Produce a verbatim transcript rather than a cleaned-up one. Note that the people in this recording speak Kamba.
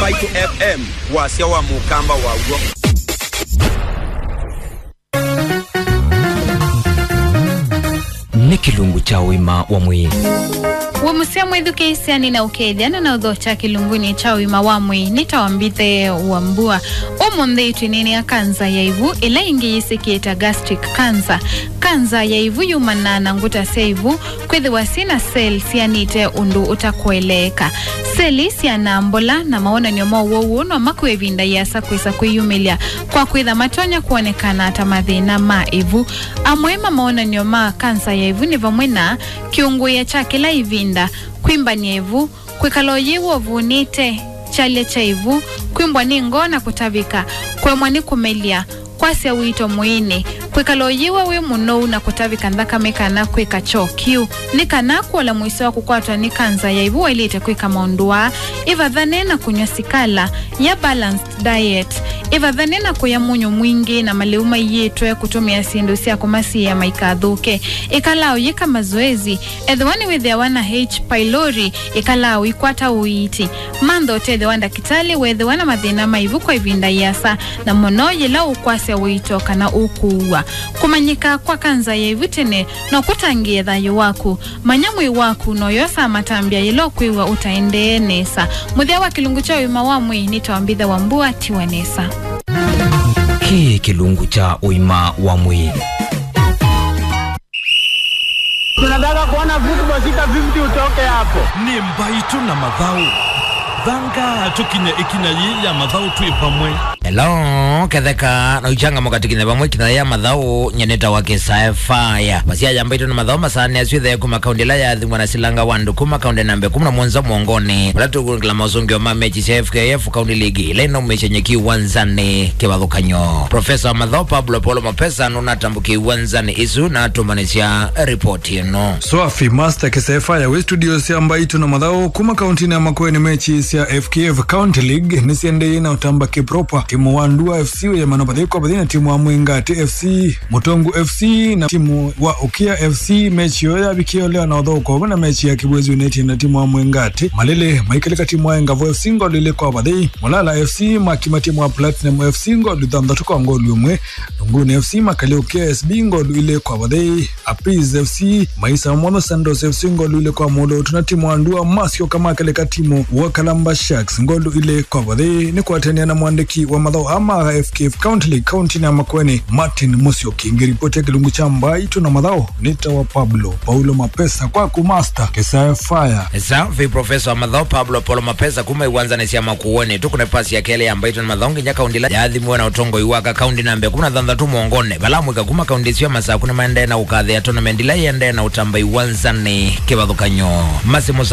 Mbaitu F M, wasya wa mũkamba waw'o. Nĩ kĩlungu kya ũima wa mwĩĩ. Wĩ mũseo mwĩthukĩĩsya, nĩnaũkethya na naũthokya kĩlungunĩ kya ũima wa mwĩĩ. Nĩtawa Mbithe wa Mbua. Ũmũnthĩ twĩneenea kanza ya ĩvu, ĩla ĩngĩ yĩsĩkĩe ta gastric cancer. Kanza ya ĩvu yumanaa na ngũta sya ĩvu kwĩthĩwa syĩ na seli sianĩte ũndũ ũtakũeleeka. Seli syanaa mbola na mawonany'o ma ũwau ũũ no makw'e ĩvinda ĩasa kwĩsa kwĩyumĩlya kwa kwĩtha matonya kwonekana ta mathĩna ma ĩvu. Amwe ma mawonany'o ma kanza ya ĩvu nĩ vamwe na kĩũngũĩa kya kĩla ĩvinda, kwĩmbany'a ĩvu, kwĩkala ũyĩw'a ũvunĩte, kyalya kya ĩvu, kwĩmbwa nĩ ngoo na kũtavĩka, kũemwa nĩ kũmelya, kwasya ũito mwĩĩnĩ, kwĩkala ũyĩw'a wĩ mũnou na kũtavĩka nthakame kana kwĩka kyoo kĩu. Nĩ kana kũola mũisyo wa kũkwatwa nĩ kanza ya ĩvu waĩlĩte kwĩka maũndũ aa: ĩvathane na kũnyw'a sikala, ya balanced diet, ĩvathane na kũya mũnyũ mwingĩ na malĩu maiĩtwe kũtũmĩa syĩndũ sya kũmasiĩĩa maikathũke, ĩkalaa ũyĩka mazoezi, ethĩwa nĩwĩthĩawa na H. pylori, ĩkalaa ũikwata ũiiti. Mantha ũtethyo wa ndakĩtalĩ weethĩwa na mathĩna ma ĩvu kwa ĩvinda ĩasa, na mũno yĩla ũkwasya ũito kana ũkũua. Kũmanyĩka kwa kanza ya ĩvu tene no kũtangĩĩe thayũ waku. Manya mwĩĩ waku na ũyosaa matambya yĩla ũkwĩw'a ũtaendee nesa. Mũthya wa kĩlungu kya ũima wa mwĩĩ nĩtawa Mbithe wa Mbua, tiwa nesa. Kĩĩ kĩlungu kya ũima wa mwĩĩ. Tunataka kuona football sita fifty utoke hapo. Nĩ Mbaitũ na Mathaũ. Thanga tũkinye ĩkinya yĩĩ ya mathaũ twĩ vamwe. Hello, ketheka na ũichangamũka tũkinye vamwe ĩkinya ya mathaũ. Nyie nĩtawa Kĩsae Faya. Masya ya Mbaitũ na Mathaũ masaanĩa syĩ thee kuma kaũndĩ ĩla yaathimwa na silanga wa andũ kuma kaũndĩ namba ĩkũmi na mũonza mwongonĩ, vala tũkũngĩla maũsũngĩo ma mechi sya F K F County League ĩla ĩnaumĩsye nyeki ũwanzanĩ kĩvathũkany'o. Profesa wa mathaũ Pablo Paulo Mapesa nũnatambũkie ũwanzanĩ ĩsu na atũmbanĩsya ripoti ĩno. Swafi Master Kĩsae Faya wĩ studio sya Mbaitũ na Mathaũ kuma kaũntĩnĩ ya Makueni. Mechi sya F K F County League nĩsiendeeie na ũtamba kĩpropa. Timu wa Ndua F C wĩyamana vathei kwa vathei na timu wa Mwingati F C. Mũtongu F C na timu wa Ũkĩa F C, mechi ĩyo yavikie ũlea na ũthũku vamwe na mechi ya Kĩw'ũ United na timu wa Mwingati. Malĩlĩ maikĩlĩka timu wa Engavu F C ngolu ilĩ kwa vathei. Mulala F C makima timu wa Platinum F C ngolu thanthatũ kwa ngolu ĩmwe. Nunguni F C makalyũkia S B ngolu ilĩ kwa vathei. Apis F C maisama mwathũ Santos F C ngolu ilĩ kwa mũlũtu, na timu wa Ndua masyoka makeleka timu wa Kalamba Sharks ngolu ilĩ kwa vathei. Nĩ kwatania na mwandĩki wa mathaũ aa ma F K F County League kaũntĩnĩ ya Makueni, Martin Musyoki. Ngĩripoti ya kĩlungu kya Mbaitũ na Mathaũ, nĩtawa Pablo Paulo Mapesa, kwaku Master Kĩsae Faya. Safi, Profesa wa mathaũ Pablo Paulo Mapesa kuma iwanzanĩ sya Makueni. Tũkũne pasi ya kelĩ ya Mbaitũ na Mathaũ nginya kaũndĩ ĩla yaathimiwe na ũtongoi wa aka kaũndĩ namba ĩkũmi na thanthatũ mwongonĩ, vala amũika kuma kaũndĩ ĩsu ya Masakũ nĩmaendee na ũkathĩa tournament ĩla ĩendee na ũtamba iwanzanĩ kĩvathũkany'o. Masi Musa